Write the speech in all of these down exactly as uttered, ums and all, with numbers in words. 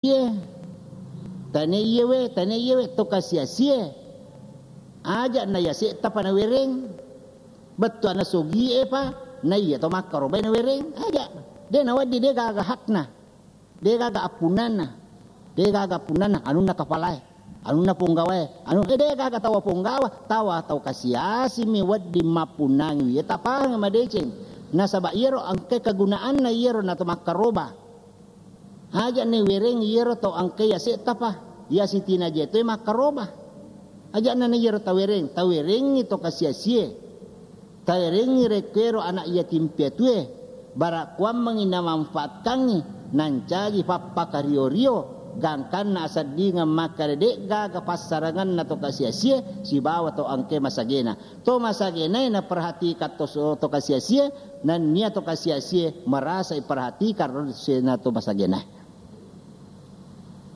Iye. Tane iye we, tane iye we, to kasiasie. Aja na yase'ta pa nawereng. Bettuanna sogie pa, na iya to makkarobae nawereng. Aja. De nawedding, de gaga hakna. De gaga appunnanna. De gaga appunnanna, anunna kapalae. Anunna ponggawae. Anu, eh, de gaga tawa ponggawa, tawa tau kasiasimi wedding mappunnangi. Iya tapahang madeceng. Nasaba iyaro engka kegunaanna iyaro na to makkaroba. Aja' nawereng iyaro tau engkai yase'ta pa, iya sitinaja toi makkaroba. Aja'na na iyaro tawereng, tawerengngi to kasiasie. Tawerengngi rekkuero ana' yatim piatue, bara kuammengngi namanfaatkangngi, nancaji pappakario-rio, gangkanna aseddingeng makkeda de'gaga passarangenna to kasiasie sibawa to engkai masagena. To masagenae naperhatikan to, to kasiasie, nennia to kasiasie merasa iperhatikan ro sena to masagenae.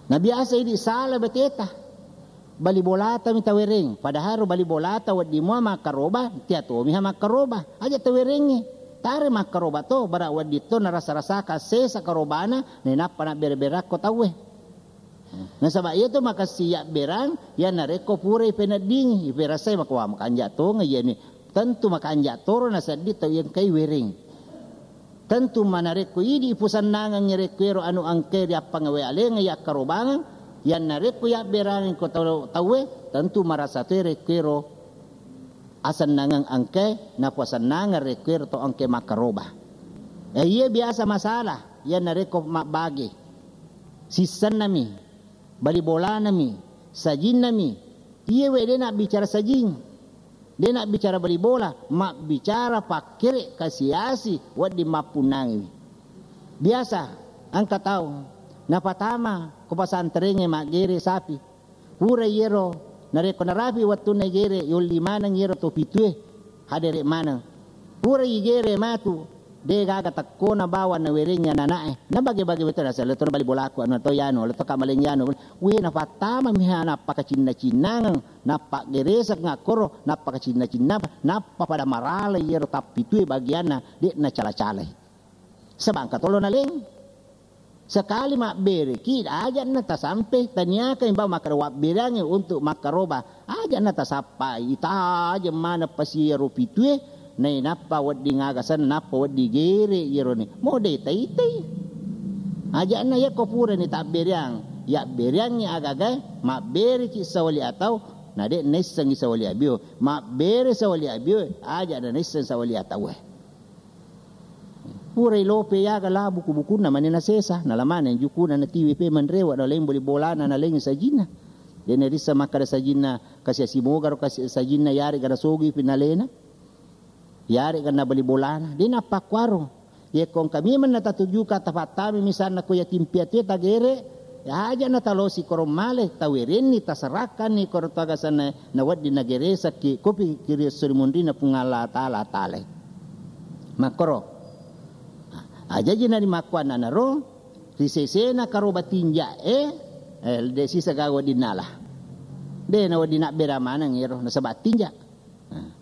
Na biasa idi sala beteta. Bali bolata mi tawereng, padahal ro bali bolata wedding mua makkaroba, tia tomi ha makkaroba. Aja tawerengngi. Tare makkaroba to, bara wedding to narasa-rasaka sesa karobana, nainappa nabbere-berakko tauwe. Nasaba iyatu makessing yabberang, iya narekko purai peneddingi, iperasai makowa makanja tongeng iyani. Tentu makanja toro nasedding tau iya engkai wereng. Tentu manarekko idi ipusennangengngi rekkuero anu engkai riappangawe alenga yakkarobangeng, iya narekko yabberangeng ko tau-, tauwe, tentu marasa toi rekkuero asennangeng engkai, napasennangeng rekkuero to engkai makkaroba. Eh, iya biasa masalah, iya narekko mabbage. Sissennami, bali bolanami, sajinnami. Iyewe de nabbicara sajing, de nabbicara bali bola, mabbicara pakkere kasiasi wedding mappunnangiwi. Biasa engka tau napatama ko pasanterengnge maggere sapi. Pura iyero, narekko narapi wettunna igere, yolli maneng iyero to pitue, hadere maneng. Pura igere matu, de gaga tekkona bawang nawerengngi anana'e. Nabage-bage betul naseng, "Letona bali bolaku, anu to yanu, letona maleng yanu." We, napattama miha nappakacinna-cinnangeng, nappaggereseng akkoro, nappakacinna-cinna, nappa pada marala iyero tappitue bagianna, de nacala-calai. Sebangka tolo naleng. Sekali mabbereki, aja'na tasampe, taniaka imba makkeda wabbereangngi untuk makkaroba, aja'na tasappai, itajeng maneng pasi iyaro pitue, nainappa wedding aga senna, nappa wedding gere iyaroni. Mo de taitai. Aja'na yakko purani tabbereang, yabbereangngi agagae, mabbereki sawali atau, na de naissengngi sawali abio, mabbere sawali abio, aja'na naisseng sawali ataue. Purai lope yaga la buku-bukunna mani nasesa, nala maneng jukuna natiwi pe manrewa, naleng bali bolana, nalengi sajinna. De narissa makkada sajinna kasiasi mogaro kasi-, sajinna yarega nasogui pinalena. Yarega nabali bolana. De nappakkuaro. Yekko engka memeng natatujuka tapattami misalna ko yatim piatu tagere, aja'na talosi korong male, tawerenni, taserakkanni koro to aga senna, nawedding nageresekki, kopi kiri esso ri munrinna Puang Allah Taala, Taala. Makkoro. Ajaji narimakkuannanaro, ri sesena karoba tinja'e, eh, de sisa gaga wedding nala. De nawedding nabbera maneng ero, nasaba tinja. Nah.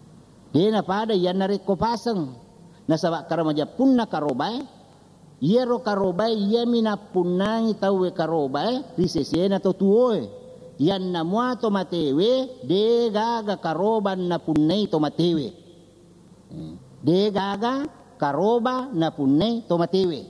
De napada iyanna rekko paseng. Nasaba karamaja punna karobae, iyaro karobae iyami nappunnangi tauwe karobae ri sesena to tuoe. Yanna mua to matewe, de gaga karoba napunnai to matewe. De gaga karoba napunnai to matewe.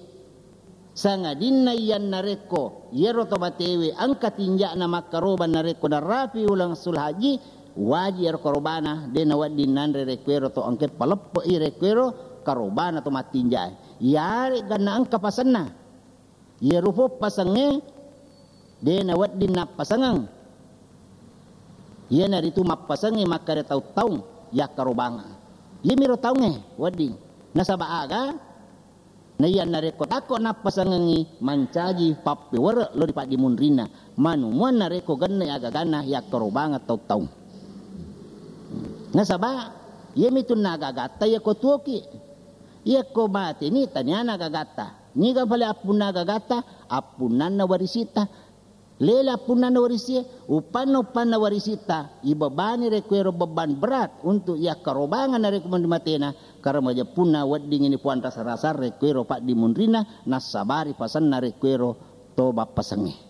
Sangadinna iyanna rekko iyaro to matewe engka tinja'na makkaroba narekko narapi uleng sul haji, waji ero karobana, de nawedding nanre rekkuero to engke paleppe'i rekkuero karobana to mattinja'e. Iyare'ga na engka pasenna. Iyaro po pasengnge de nawedding nappasengeng. Iyanaritu mappasengnge makkeda taung-taung yakkarobangeng. Iyamiro taungnge wedding. Nasaba aga? Naiyanna rekko takko nappasengengngi mancaji pappewerre lo ri paddimunrinna. Manumuanna rekko genne agaganna yakkarobangeng taung-taung. Nasaba iyamitunna agagatta yakko tuoki. Yakko mateni taniana agagatta. Niga pale appunna agagatta? Appunnanna warisitta. Lele appunnanna warisie, uppanna-uppanna warisitta, ibebani rekkuero beban berat untuk yakkarobangeng narekko mandi matena, karena majeppunna wedding ini puang rasa-rasa rekkuero paddimunrinna, nassabari pasenna rekkuero to bappasengnge.